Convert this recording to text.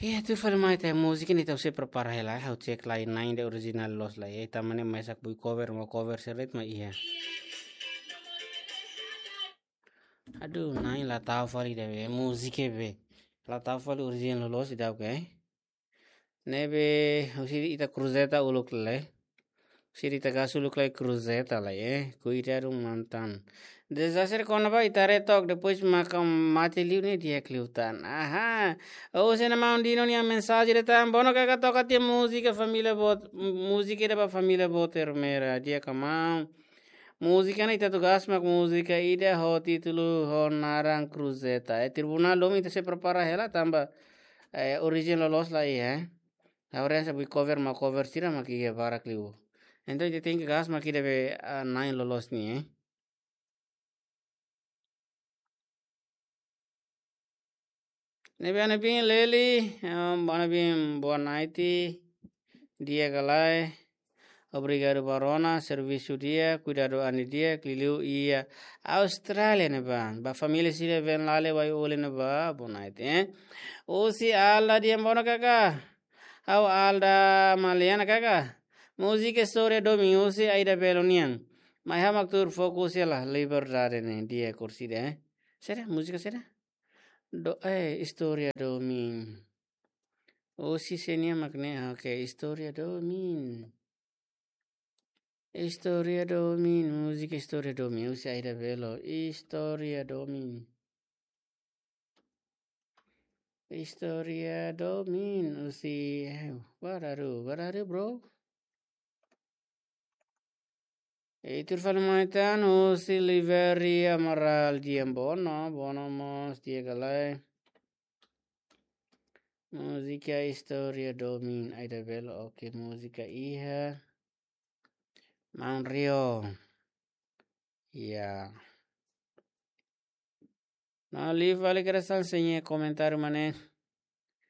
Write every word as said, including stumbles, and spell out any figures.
Iha, tuir fali mai ita múzika ne'e ita sei prepara hela, ha'u cek lai na'in ida orijinál loos lai. Ita mane mai sak bui cover, mau cover seret mai iha. Aduh, na'in la tau fali ida be, múzika be. La tau fali orijinál loos ida, oke. Ne'ebé, husi ita Cruzeta uluk lai. Husi ita Gasu uluk lai Cruzeta lai, eh. Kuidadu mantan. Dezastre kona-ba ita haree took, depois maka mate liu ne'e di'ak liután. Aha. Husi nia maun Dino nia mensajen de'it tan. Bono kaka toka tiha múzika família boot, múzika ida ba família boot Ermera. Di'ak ka maun. Múzika ne'e ita tugas mak múzika ida ho títulu ho naran Cruzeta. Eh, tribunál domin ita sei prepara hela tanba, eh, orijinál loos lai, eh. Agora essa bui cover, mau cover sira mak iha barak liu. Entaun ita tenke gas mak ida be, ah, na'in loloos ne'e, eh. Ne'ebé Ana Bin Leli, em, Ana Bin boa noite. Di'ak ka lae. Obrigadu ba rona, servisu di'ak, kuidadu an di'ak, liuliu iha Austrália ne'ebá. Ba família sira Ben Lale Wai Ole ne'ebá, boa noite, eh. Husi Alda Diambono kaka. Ha'u Alda Maliana kaka. Múzika istória domin husi Aida Belo nian. Mai ha'u mak tuur fokus hela, liberdade ne'e, di'ak kursi de, eh. Saida, múzika saida? Do, eh, istória domin. Husi sé nian mak ne'e, oke, istória domin. Istória domin, múzika istória domin, husi Aida Belo, istória domin. Istória domin, husi, eh, what are you, what are you, bro? Ita tuur fali mai tan, husi Liveri Amaral Diambono, boa noite, di'ak ka lae. Múzika istória domin, Aida Belo, oke, múzika iha. Maun Rio. Ya. Nah, live fali kera san seña komentáriu mane.